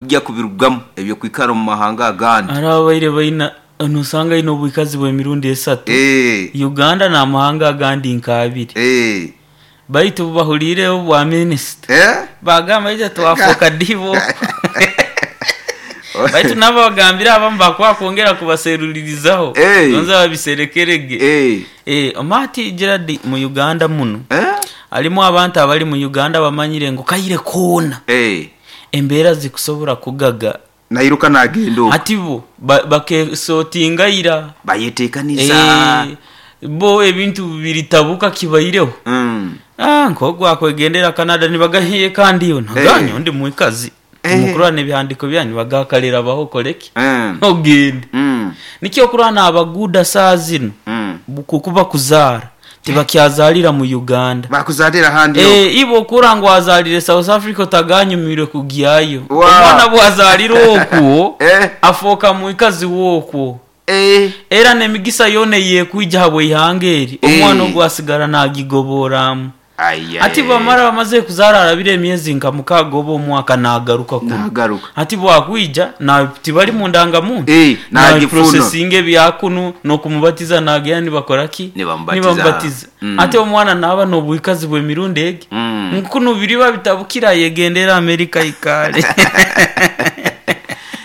Kujja kubirugamu eby'okwikara omu mahanga agandi. Hariho ababaire baina nosanga aine obwikazi bw'emirundi esatu, Uganda n'amahanga agandi nk'abiri. Baitu obubahuliire obwa minisita baagamba itwe twafuuka diibo. Baitu nabo bagambire abamu baakuba kwongera kubaserulirizaho gonza babiserekere ge. Omanya hati Gerald mu Uganda munu harimu abantu abali mu Uganda bamanyire ngu kaire koona embeera zikusobola kugaga. Nairuka nagenda okwo. Hati bo bakesotinga ira. Bayetekaniza. Bo ebintu biritabuka kibaireho. Nk'ogu akwegendera Canada nibagamba kandi iwe nagamba nyowe ndi mwikazi. Timukurora n'ebihandiiko byanyu nibagamba kare rabaho okore ki? Ogende. Nikyo okurora n'abaguuda saaha zinu kuba kuzaara tibakyazaalira mu Uganda. Bakuzaalira ahandi okwo. Iwe okurora ngu wazaalire South Africa otaganyumirwe kugyayo. Omwana bwazaalira okwo afooka mwikazi w'okwo. Era n'emigisa yoona ey'ekwija habw'eihanga eri, omwana ogu asigara naagigoboramu. Hati bamara bamazire kuzaara arabire emyezi nka mukaaga oba omwaka naagaruka kunu. Hati bwakwija na tibari mu ndangamuntu, naabiprosesinga ebya kunu n'okumubatiza naagenda nibakora ki? Nibamubatiza. Hati omwana naaba n'obwikazi bw'emirundi egi, ngu kunu biriba bitabukire ayegendere Amerika aikaare.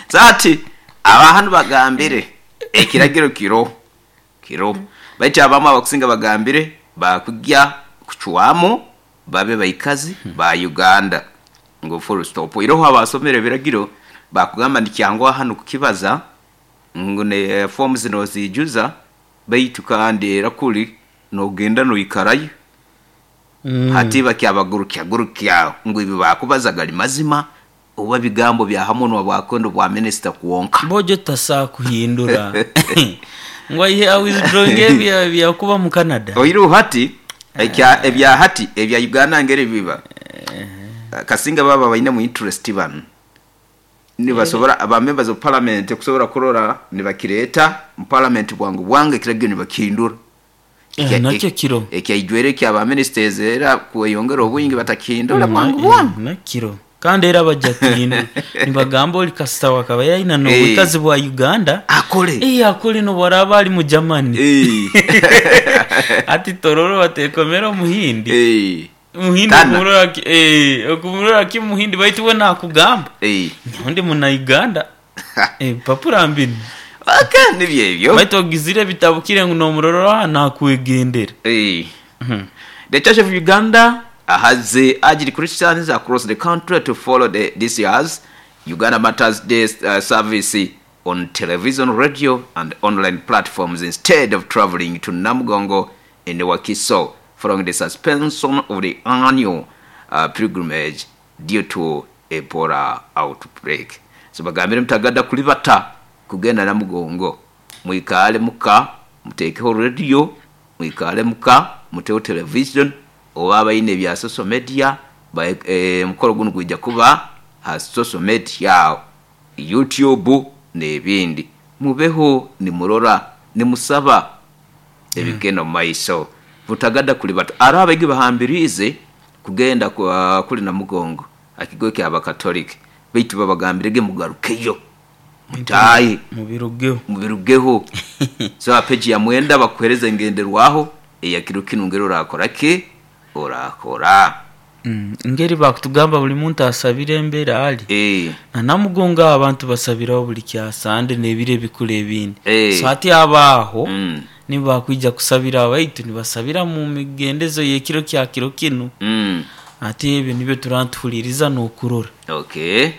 So hati Aba hanu bagambire, Ekiragiro kiroho, kiroho. Baitu abamu abakusinga bagambire bakugya kucwamu babe baikazi ba Uganda ngu full stop. Iroho abasomere ebiragiro bakugamba nikyanguha hanu kukibaza ngu ne forms noziijuza baitu kandi era kuli nogenda noikarayo. Hati bakyabagurukya-gurukya ngu ebi bakubaza gali mazima Oba bigambo bya ha munwa bwa kwenda obwa minisita kwonka. Bojo tasobola kuhindura ngu aihe a withdrawinge ebyakuba mu Canada. Oihireho hati ekya ebya hati ebya Uganda ngeri biba kasinga baba bainemu interest banu nibasobora ba members of parliament kusobora kurora nibakireta mu parliament bwangu bwangu ekiragiro nibakihindura. Nakyo kiro. Ekyaijwire ekya ba ministers era kweyongera obwingi batakihindura bwangu bwangu. Nakiro. Kandi era baja kuhindura. Nibagamba ori kasita akaba yaina n'obwikazi bwa Uganda. Akore. Akore n'obu araaba ari mu Germany. Hati Tororo batekomera Omuhindi. Omuhindi okumurora ki okumurora ki Omuhindi baitu we nakugamba nyowe ndi muna Uganda. Ebipapura mbinu. Okay, nibyo ebyo. Baitu ogizire ebitabukire ngu nomurora aha nakwegendera. The Church of Uganda has urged Christians across the country to follow the this year's Uganda Martyrs Day service on television, radio and online platforms instead of travelling to Namugongo in Wakiso following the suspension of the annual pilgrimage due to Ebola outbreak. So bagambire mutagada kulibata kugenda Namugongo, mwikaale muka muteekeho radio, mwikaale muka muteho television oba abaine ebya social media omukolo gunu gwija kuba ha social media agho, YouTube n'ebindi. Mubeho nimurora, nimusaba ebigenda omu maiso. Butagada kulibata. Aroho abaigi bahambiriize kugenda kuli Namugongo aha kigo ky'Abakatoliki baitu babagambirege mugarukeyo mutaahe mubirugeho. So ha peji ya mwenda bakuhereza engenderwaho eya kiro kinu ngeri orakora ki? Orakora. Ngeri bakutugamba buli muntu asabire embera ali na Namugongo aho abantu basabiraho buli kya Sande n'ebiro ebikuru ebindi. So hati abo aho nibo bakwija kusabira baitu nibasabira mu migendezo y'ekiro kya kiro kinu. Hati ebyo nibyo turaba nituhuliriza n'okurora. Okay.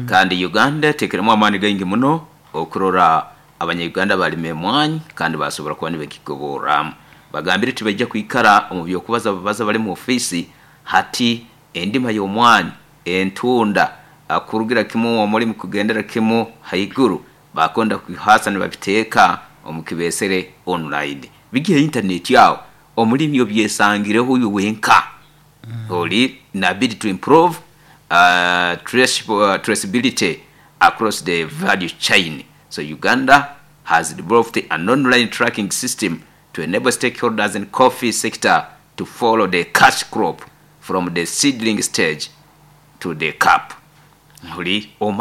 Kandi Uganda etekeremu amaani gaingi muno okurora Abanya-Uganda balima emwanyi kandi basobora kuba nibagigoborramu. Bagambire tibaija kwikara omu by'okubaza babaza bali mu ofiisi hati endima y'omwani, entunda, kurugira kimu omulimi kugendera kimu haiguru bakwenda kubihaasa nibabiteeka omu kibesere online. Bigye ha intaneti aho omulimi obyesangireho iwe wenka. Oli nabidi to improve traceability across the value chain. So Uganda has developed an online tracking system to enable stakeholders in coffee sector to follow the cash crop from the seedling stage to the cup. Oli.